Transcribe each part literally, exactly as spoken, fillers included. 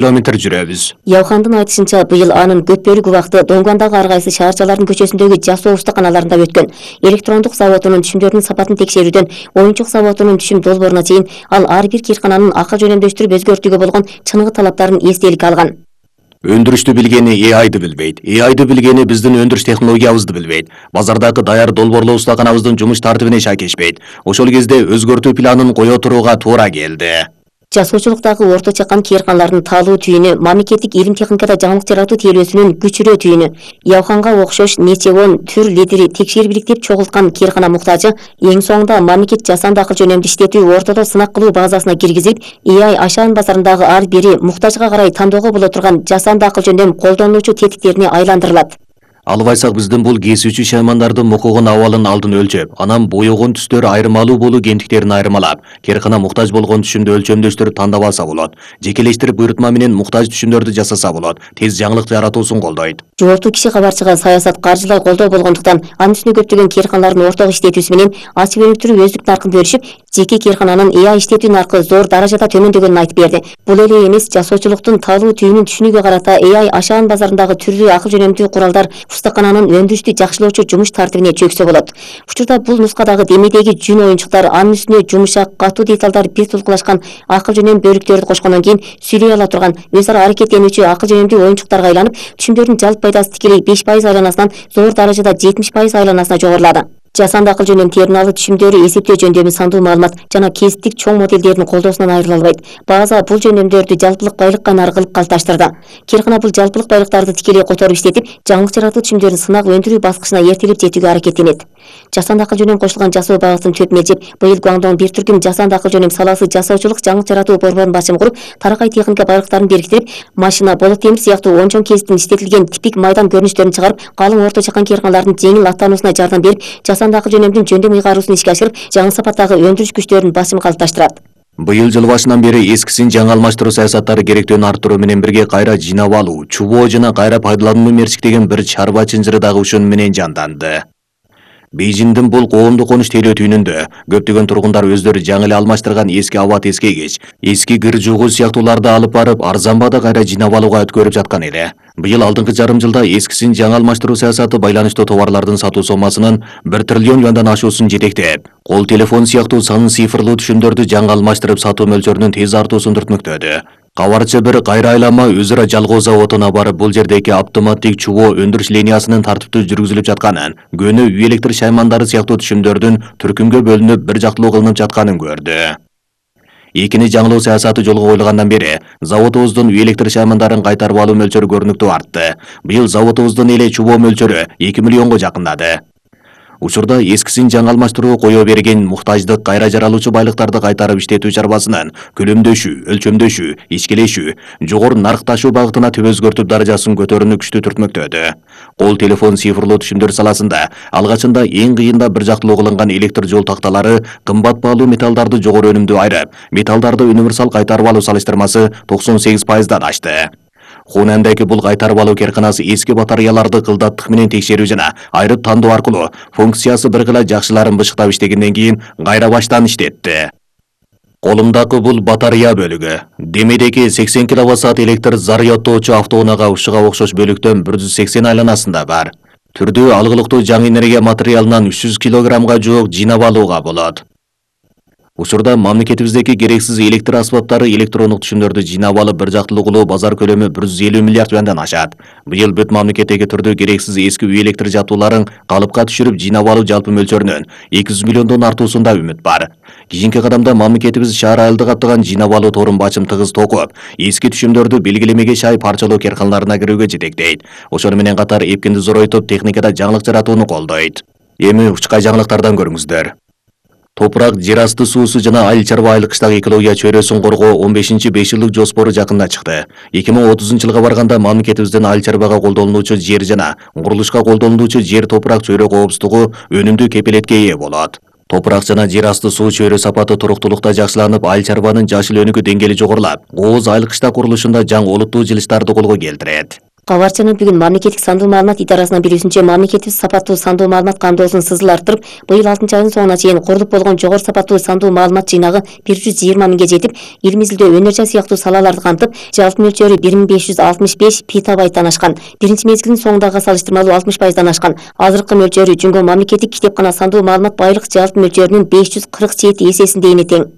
километр жүрөбүз. Яухандын айтышынча, быйыл анын көп бөлүк убакыты Донгондагы ар кайсы шаарчалардын көчөсүндөгү жасоо устаканаларында өткөн. Электрондук заводунун түшүмдөрүнүн сапатын текшерүүдөн оюнчук заводунун түшүм долбооруна чейин ал ар бир кыйркананын акыл жөнөмдөштүрүп өзгөртүүгө болгон чыныгы талаптарын эстеликке алган. Өндүрүштү билгени э айды билбейт. э айды билгени биздин өндүрүш технологиябызды билбейт. Базардагы даяр долбоорлоо устаканабыздын жумуш тартибине шакешпейт. Ошол кезде өзгөртүү планын кое турууга туура келди. Жасоочулуктагы орто чакан кыйрканалардын таалуу түйүнү мамлекеттик илим техникада жаңылык жаратуу тейлөөсүнүн күчүрөө түйүнү. Яуханга окшош нече он түр лидери текшербиликтеп чогулткан кыйркана муктажы эң соңунда мамлекет жасанды акыл жөнөмдү иштетүү ортодо сынак кылуу базасына киргизип, э ай Ашан базарындагы ар бири муктажга карай тандоого боло турган жасанды акыл жөнөм колдонуучу тетиктерине айландырылат. Албайсак биздин бул кесүүчү шаймандардын мукугун абалын алдын өлчөп, анан боёгон түстөр айырмалуу болуу кемтиктерин айырмалап, кыйркана муктаж болгон түшүмдү өлчөмдөштүрүп тандап алса болот. Жекелештирип буйрутма менен муктаж түшүмдөрдү жасаса болот. Тез жаңылык жаратуусун колдойт. Жогорку киши кабарчыга саясат каржылай колдоо болгондуктан анын үстүнө көптөгөн кыйрканалардын ортого иштетүүсү менен ачып өнүктүрүп өздүк наркын бөлүшүп, жеке кыйркананын э ай иштетүү наркы зор даражада төмөндөгөнүн айтып берди. Бул эле эмес, жасоочулуктун таалуу түйүнүн түшүнүүгө карата э ай Ашан базарындагы түрдүү акыл жөнөмдүү куралдар устакананын өндүрүштү жакшылоочу жумуш тартибине чөксө болот. Учурда бул нускадагы демедеги жүн оюнчуктар, анын үстүнө жумушак, катуу деталдар бир тулкулашкан акыл жөнөм бөлүктөрдү кошкондон кийин сүйлөй ала турган өз ара аракеттенүүчү акыл жөнөмдүү оюнчуктарга айланып, түшүмдөрдүн жалпы пайдасы тикелей беш пайыз айланасынан зор даражада жетимиш пайыз айланасына жогорулады. Жасанды акыл жөнөм терминалды түшүмдөрү эсептөө жөндөмү сандуу маалымат жана кесиптик чоң моделдердин колдоосунан айрыла албайт. База бул жөндөмдөрдү жалпылык байлык кайнары кылып калыпташтырды. Кыйркана бул жалпылык байлыктарды тикелей которуп иштетип, жаңылык жаратуу түшүмдөрүн сынак өндүрүү баскычына эртелеп жетүүгө аракеттенет. Жасанды акыл жөнөм кошулган жасоо багытын чөп мелчеп, быйыл Гуаңдон бир түркүм жасанды акыл жөнөм саласы жасоочулук жаңылык жаратуу борборунун башчымы куруп, таракай техника байлыктарын бириктирип, машина, болот темир сыяктуу он чоң кесиптин иштетилген типик майдан көрүнүштөрүн чыгарып, калың орто чакан кыйрканалардын жеңил аттануусуна жардам берип, жасанды акыл жөнөмдүн жөндөм ыйгаруусун ишке ашырып, жаңы сапаттагы өндүрүш күчтөрүнүн басымын калыпташтырат. Быйыл жыл башынан бери эскисин жаңы алмаштыруу саясаттары керектөөнү арттыруу менен бирге кайра жыйнап алуу, чубоо жана кайра пайдаланууну мерчиктеген бир чарба чынжыры дагы ушун менен жанданды. Бейжиңдин бул коомдук конуш тейлөө түйүнүндө көптөгөн тургундар өздөрү жаңы эле алмаштырган эски аба тескейгич, эски кир жугуу сыяктууларды алып барып, арзан баада кайра жыйнап алууга өткөрүп жаткан эле. Быйыл алдыңкы жарым жылда эскисин жаңы алмаштыруу саясаты байланыштуу товарлардын сатуу сомасынын бир триллион юандан ашуусун жетектеп, кол телефон сыяктуу санын цифрлуу түшүмдөрдү жаңы алмаштырып сатуу мөлчөрүнүн тез артуусун түртмөктөдү. Кабарчы бир кайра айлама өз ара жалгоо заводуна барып, бул жердеги автоматтик чубоо өндүрүш линиясынын тартиптүү жүргүзүлүп жатканын, көнө үй электр шаймандары сыяктуу түшүмдөрдүн түркүмгө бөлүнүп бир жактылуу кылынып жатканын көрдү. Экини жаңылоо саясаты жолго коюлгандан бери заводубуздун үй электр шаймандарын кайтарып алуу мөлчөрү көрүнүктүү артты. Быйыл заводубуздун эле чубоо мөлчөрү эки миллионго жакындады. Учурда эскисин жаңы алмаштырууга кое берген муктаждык кайра жаралуучу байлыктарды кайтарып иштетүү чарбасынын көлөмдөшүү, өлчөмдөшүү, ичкилешүү, жогору наркташуу багытына түп өзгөртүп даражасын көтөрүүнү күчтүү түртмөктөдү. Кол телефон цифрлуу түшүмдөр саласында алгачында эң кыйында бир жактылуу кылынган электр жол такталары кымбат баалуу металлдарды жогору өнүмдүү айрып, металлдарды универсал кайтарып алуу салыштырмасы токсон сегиз пайыздан ашты. Хунандагы бул кайтарып алуу кыйрканасы эски батареяларды кылдаттык менен текшерүү жана айрып тандоо аркылуу функциясы бир кыла жакшыларын бышыктап иштегенден кийин кайра баштан иштетти. Колумдагы бул батарея бөлүгү. Демедеги сексен киловатт саат электр зарядтоочу автоунаага ушуга окшош бөлүктөн бир жүз сексен айланасында бар. Түрдүү алгылыктуу жаңы энергия материалынан үч жүз килограммга жуук жыйнап алууга болот. Учурда мамлекетибиздеги керексиз электр аспаптары электрондук түшүмдөрдү жыйнап алып бир жактылуу кылуу базар көлөмү бир жүз элүү миллиард юандан ашат. Быйыл бүт мамлекеттеги түрдүү керексиз эски үй электр жабдууларын калыпка түшүрүп жыйнап алуу жалпы мөлчөрүнүн эки жүз миллиондон артуусунда үмүт бар. Кийинки кадамда мамлекетибиз шаар айылды каптаган жыйнап алуу торун бачым тыгыз токуп, эски түшүмдөрдү белгилемеге шай парчалоо кыйрканаларына кирүүгө жетектейт. Ошону менен катар эпкинди зоройтуп, техникада жаңылык жаратууну колдойт. Эми учкай жаңылыктардан көрүңүздөр. Топурак, жер асты суусу жана айыл чарба айыл кыштак экология чөйрөсүн коргоо он бешинчи беш жылдык жоспору жакында чыкты. эки миң отузунчу жылга барганда мамлекетибиздин айыл чарбага колдонулуучу жер жана курулушка колдонулуучу жер топурак чөйрө коопсуздугу өнүмдүү кепилетке ээ болот. Топурак жана жер асты суу чөйрө сапаты туруктуулукта жакшыланып, айыл чарбанын жашыл өнүгүү деңгээли жогорулап, кооз айыл кыштак курулушунда жаңы олуттуу жылыштарды колго келтирет. Кабарчынын бүгүн мамлекеттик сандуу маалымат идарасынын билүүсүнчө, мамлекеттик сапаттуу сандуу маалымат камдоосун сызыл арттырып, быйыл алтынчы айдын соңуна чейин курулуп болгон жогору сапаттуу сандуу маалымат жыйнагы бир жүз жыйырма миңге жетип, ил изилдөө, өнөр жай сыяктуу салаларды камтып, жалпы мөлчөрү бир миң беш жүз алтымыш беш петабайттан ашкан. Биринчи мезгилдин соңундагыга салыштырмалуу алтымыш пайыздан ашкан. Азыркы мөлчөрү Жөнгө мамлекеттик китепкана сандуу маалымат байлык жалпы мөлчөрүнүн беш жүз кырк жети эсесиндейине тең.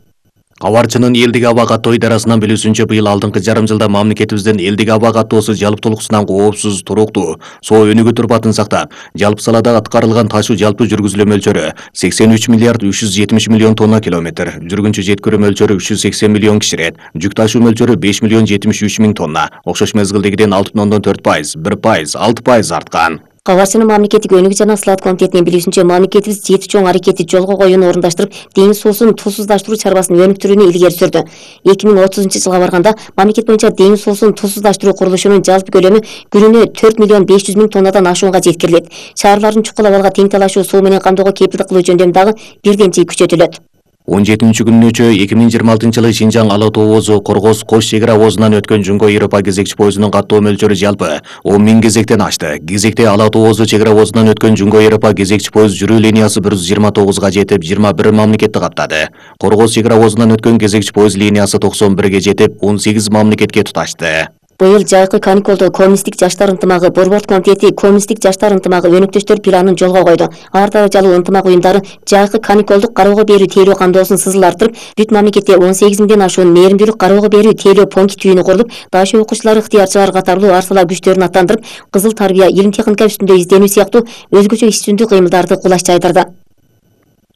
Кабарчынын элдик аба каттоо идарасынан билүүсүнчө, быйыл алдыңкы жарым жылда мамлекетибиздин элдик аба каттоосу жалптуулуксунан коопсуз, туруктуу, соо өнүгүү турпатын сактап, жалпы салада аткарылган ташуу жалпы жүргүзүлүү мөлчөрү сексен үч миллиард үч жүз жетимиш миллион тонна километр, жүргүнчү жеткирүү мөлчөрү үч жүз сексен миллион киширет, жүк ташуу мөлчөрү беш миллион жетимиш үч миң тонна, окшош мезгилдегиден алты бүтүн ондон төрт пайыз, бир пайыз, алты пайыз арткан. Кабарчынын мамлекеттик өнүгүү жана слаат комитетинин билүүсүнчө, мамлекетибиз жети чоң аракетти жолго коюуну орундаштырып, деңиз суусун тузсуздаштыруу чарбасын өнүктүрүүнү илгери сүрдү. эки миң отузунчу жылга барганда мамлекет боюнча деңиз суусун тузсуздаштыруу курулушунун жалпы көлөмү күнүнө төрт миллион беш жүз миң тоннадан ашуунга жеткирилет. Шаарлардын чукул абалга тең талашуу суу менен камдоого кепилдик кылуу жөндөмү дагы бирден жий күчөтүлөт. он жетинчи күнүнчө эки миң жыйырма алтынчы жылы Шинжаң Ала тоо озу Коргоз Кош чек ара обозунан өткөн Жөнгө Европа кезекчи поездунун каттоо мөлчөрү жалпы он миң кезектен ашты. Кезекте Ала тоо озу чек ара обозунан өткөн Жөнгө Европа кезекчи поезд жүрүү линиясы бир жүз жыйырма тогузга жетип, жыйырма бир мамлекетти каттады. Коргоз чек ара обозунан өткөн кезекчи поезд линиясы токсон бирге жетип, он сегиз мамлекетке туташты. Быйыл жайкы каникулдо коммунисттик жаштар ынтымагы борбордук комитети коммунисттик жаштар ынтымагы өнөктөштөр планын жолго койду. Ар даражалуу ынтымак уюмдары жайкы каникулдук кароого берүү тейлөө камдоосун сызыл арттырып, бүт мамлекетте он сегиз миңден ашуун мээримдүүлүк кароого берүү тейлөө пункт түйүнү курулуп, даш окуучулар, ыктыярчылар катарлуу ар сала күчтөрүн аттандырып, кызыл тарбия, илим техника үстүндө изденүү сыяктуу өзгөчө иш-жүзүндүү кыймылдарды кулаш жайдырды.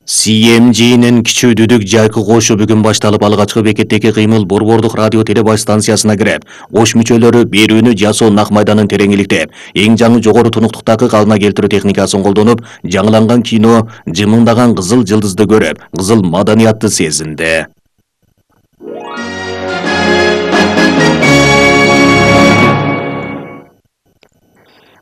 си эм джинин кичүү дүдүк жайкы кошу бүгүн башталып, алгачкы бекеттеги кыймыл борбордук радио телебаш станциясына кирип, кош мүчөлөрү берүүнү жасоо нак майданын тереңиликтеп, эң жаңы жогору тунуктуктагы калыбына келтирүү техникасын колдонуп, жаңыланган кино жымыңдаган кызыл жылдызды көрүп, кызыл маданиятты сезинди.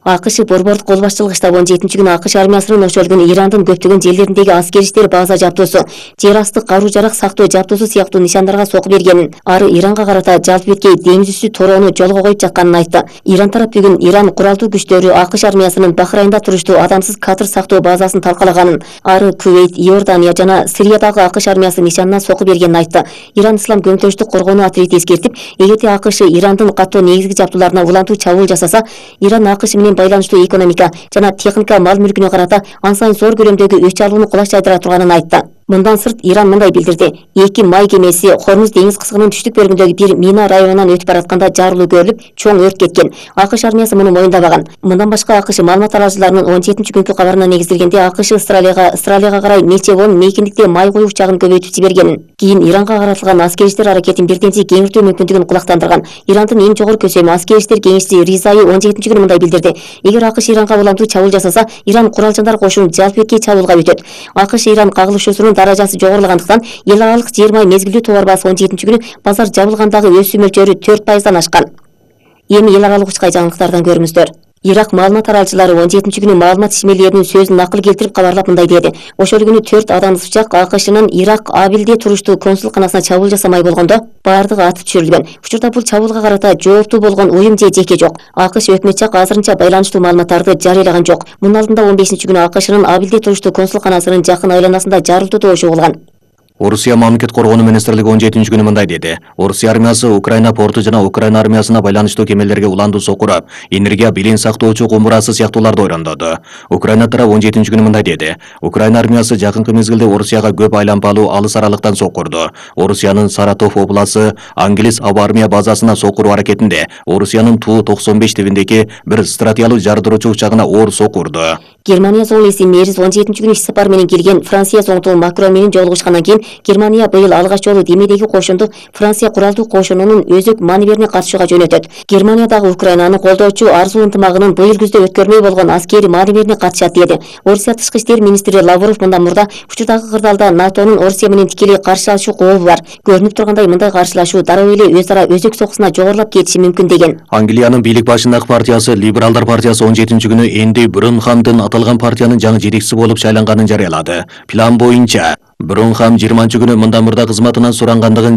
АКШ борбордук кол башчылык штабы он жетинчи күнү АКШ армиясынын ошолгон Ирандын көптөгөн жерлериндеги аскери иштер база жабдуусу, жер асты каруу жарак сактоо жабдуусу сыяктуу нишандарга сокку бергенин, ары Иранга карата жалпы беткей деңиз үстү torоону жолго коюп жатканын айтты. Иран тарап бүгүн Иран куралдуу күчтөрү АКШ армиясынын Бахрайнда туруштуу адамсыз катыр сактоо базасын талкалаганын, ары Кувейт, Иордания жана Сириядагы АКШ армиясы нишанына сокку бергенин айтты. Иран Ислам көмөктөштүк коргонуу отряди эскертип, эгерде АКШ Ирандын каттоо негизги жабдууларына улантуу чабуул жасаса, Иран АКШ менен байланыштуу экономика жана техника мал мүлкүнө карата ан сайын зор көлөмдөгү өч алууну кулаш жайдыра турганын айтты. Мындан сырт Иран мындай билдирди: эки май кемеси Хормуз деңиз кысыгынын түштүк бөлүгүндөгү бир мина районунан өтүп баратканда жарылуу көрүлүп, чоң өрт кеткен. АКШ армиясы муну моюндабаган. Мындан башка АКШ маалымат аралыжыларынын он жетинчи күнкү кабарына негизделгенде АКШ Австралияга Австралияга карай Мечевон мейкиндикте май коюу учагын көбөйтүп жибергенин, кийин Иранга каратылган аскери иштер аракетин бирденчи кеңиртүү мүмкүндүгүн кулактандырган. Ирандын эң жогору көсөмү аскери иштер кеңешчиси Ризайы он жетинчи күнү мындай билдирди: эгер АКШ Иранга улантуу чабуул жасаса, Иран куралчандар кошунун жалпы беткей чабуулга өтөт. АКШ Иран кагылышуусунун даражасы жогорулагандыктан эл аралык жер май мезгилдүү товар баасы он жетинчи күнү базар жабылгандагы өсүү мөлчөрү төрт пайыздан ашкан. Эми эл аралык учкай жаңылыктардан көрүңүздөр. Ирак маалымат аралчылары он жетинчи күнү маалымат ишмерлеринин сөзүн накыл келтирип кабарлап мындай деди: ошол күнү төрт адамдыз учак АКШнын Ирак Абилде туруштуу консулканасына чабуул жасамай болгондо баардыгы атып түшүрүлгөн. Учурда бул чабуулга карата жооптуу болгон уюм же жеке жок. АКШ өкмөт жак азырынча байланыштуу маалыматтарды жарыялаган жок. Мунун алдында он бешинчи күнү АКШнын Абилде туруштуу консулканасынын жакын айланасында жарылтуу добушу болгон. Орусия мамлекет коргонуу министрлиги он жетинчи күнү мындай деди: Орусия армиясы Украина порту жана Украина армиясына байланыштуу кемелерге уландуу сокуруп, энергия билин сактоочу кумурасы сыяктууларды ойрондоду. Украина тарап он жетинчи күнү мындай деди: Украина армиясы жакынкы мезгилде Орусияга көп айланпалуу алыс аралыктан сокурду. Орусиянын Саратов обласы Англис аба армия базасына сокуруу аракетинде Орусиянын Ту токсон беш тибиндеги бир стратегиялык жардыруучу учагына оор сокурду. Германия зоолеси Мериз он жетинчи күнү иш сапар менен келген Франция соңтуу Макрон менен жолугушкандан кийин Германия быйыл алгач жолу Демедеги кошунду Франция куралдуу кошунунун өзөк маневерине катышууга жөнөтөт. Германиядагы Украинаны колдоочу арзуу ынтымагынын быйыл күздө өткөрмөй болгон аскери маневерине катышат деди. Орусия тышкы иштер министри Лавров мындан мурда учурдагы кырдаалда НАТОнун Орусия менен тикелей каршылашуу кообу бар. Көрүнүп тургандай мындай каршылашуу дароо эле өз ара өзөк сокусуна жогорулап кетиши мүмкүн деген. Англиянын бийлик башындагы партиясы Либералдар партиясы он жетинчи күнү Энди Брунхамдын аталган партиянын жаңы жетекчиси болуп шайланганын жарыялады. План боюнча Брунхам жыйырманчы күнү мындан мурда кызматынан сурангандыгын